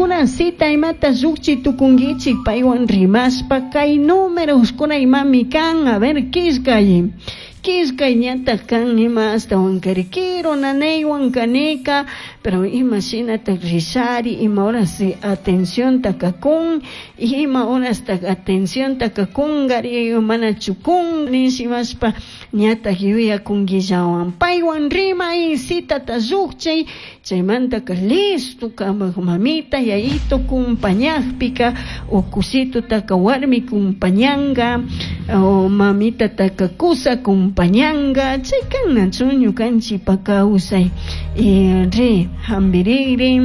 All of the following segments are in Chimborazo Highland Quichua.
Kankuna cita imata llukchi tukunkichik paywan rimashpa kay númeroskuna imami kan. A ver, killkay. Killkay ñataj kan ima ashtawankari kiru nanaywan kanika, pero ima shinataj rishari, ima horas atencionta kakun, ima horastaj atencionta kakunkari, mana chukun, nishimashpa ñataj yuyakunkillawan. Paywan rimay, citata llukchay, chaymantaka listo kamak mamita, yayito kumpañakpika, o kusitutaka warmi kumpañanka, o mamitataka kusa kumpañanka, chay kannachu ñukanchikpa kawsay. Ri, hambiriri,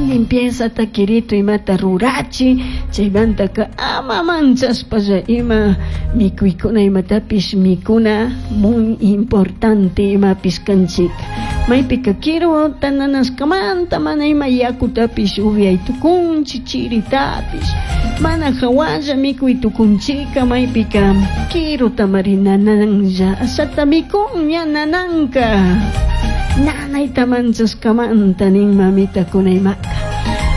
limpieza kirito imata rurachi, chaymantaka ama manchashpalla ima mikuykuna imatapish mikuna muy importante imapish kanchik. Maypika kiru tananashkamanta mana ima yakutapish upyay tukunchik, chiritapish mana hawalla mikuy tukunchika, maypika kiruta mari nananlla ashata mikun ña nananka. Nanayta manchashkamanta nin mamita kunaymaka.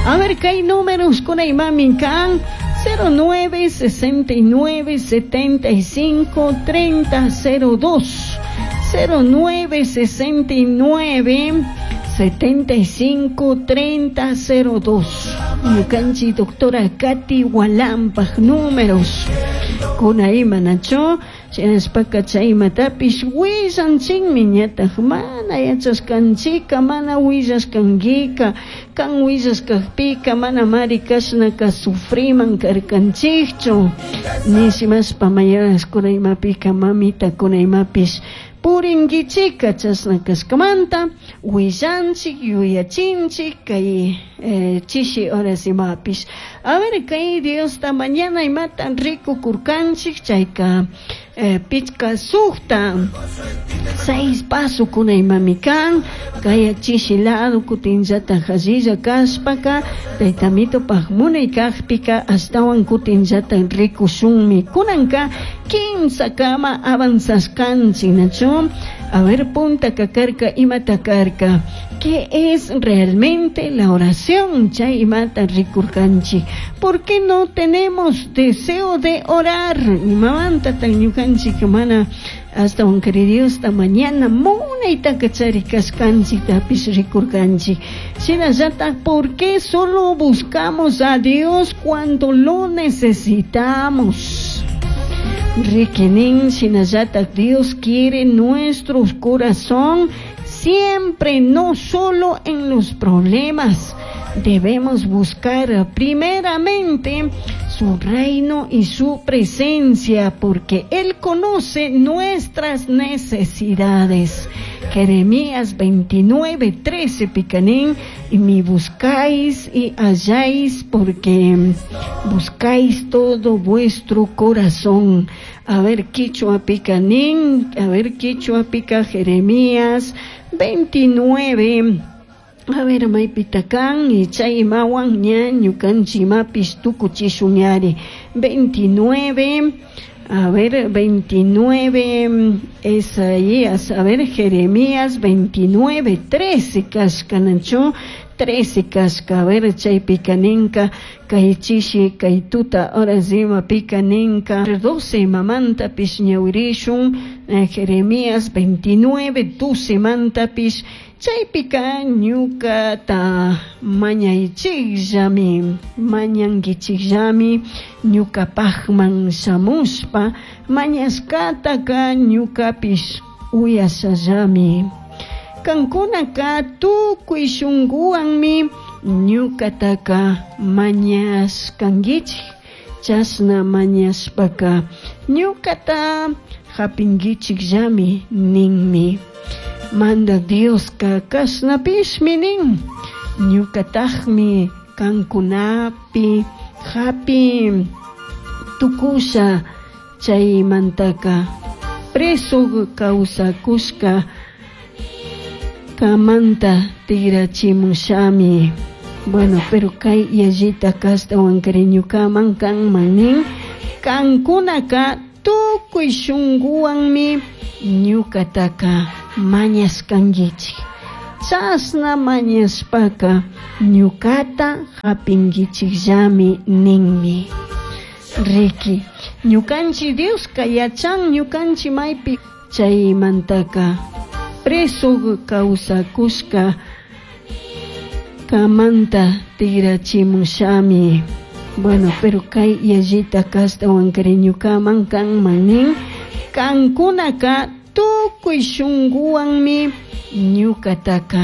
A ver, kay números kunaymami kan 09 69 75 30 02. 09 69 75 30 02. Ñukanchik doctora Katy Hualampaj números. Kunayma nacho, shinashpaka chaymatapish willanchikmi ñataj mana yachashkanchika, mana willashkankika, kan willashkakpika mana mari kashnaka sufriman karkanchikchu. Nishimashpa mayaras kunaymapika mamita kunaymapish purinkichika chashna kashkamanta willanchik yuyachinchik kay chishi horas imapish. A ver, kay Diosta mañana imata rikukurkanchik chayka pichka sukta 6 paso kunaymami kan kay chishi lado kutinllata hallilla kashpaka taytamitopaj munay kajpika ashtawan kutinllata rikushunmi. Kunanka kimsa kama avanzashkanchik nachu. A ver, punta kakarka imata karka. ¿Qué es realmente la oración? Chay imata rikurkanchik. ¿Por qué no tenemos deseo de orar? Imamanta tan ñukanchik mana hasta un querido esta mañana munayta kachari kashkanchik tapish rikurkanchik. Shinallata, ¿por qué solo buscamos a Dios cuando lo necesitamos? Riquenin, shinallata, Dios quiere nuestro corazón siempre, no solo en los problemas. Debemos buscar primeramente su reino y su presencia, porque Él conoce nuestras necesidades. Jeremías 29, 13, picanín, y me buscáis y halláis, porque buscáis todo vuestro corazón. A ver, quichua picanín, a ver, quichua pica Jeremías 29. A ver, maypitakan y chay mawan ña ñukanchi mapis tukuchishuñari. 29, a ver, 29, Isaías, a ver, Jeremías 29, 13, kashkanacho, 13 kashka, a ver, chay picaninka, kaychishi, kaytuta, ahora zima picaninka, 12 mamanta pis ñawirishun, Jeremías 29, 12 manta pis, chaypika ñukata mañaychikllami, mañankichikllami, ñukapajman shamushpa, mañashkataka ñukapish uyashallami. Kankunaka tukuy shunkuwanmi ñukataka mañashkankichik, chashna mañashpaka ñukata hapinkichikllami ninmi. Manda Dioska kashnapishmi nin, ñukatajmi kankunapi hapi tukusha, chaymantaka preso kawsakushka kamanta tigrachimushami. Bueno, pero kay yallita kashtawan ñukaman kanman nin, kankunaka tukuy shunkuwanmi ñukataka mañashkankichik. Chashna mañashpaca ñucata japinguichijllami ninmi. Riqui, ñukanchik Dioska yachan ñukanchik maypi chaymantaka preso kawsakushka kamanta tigrachimushami. Bueno, pero kay yallita ashtawankari ñukaman kanman nin kankunaka tukuy shunkuwanmi ñukataka.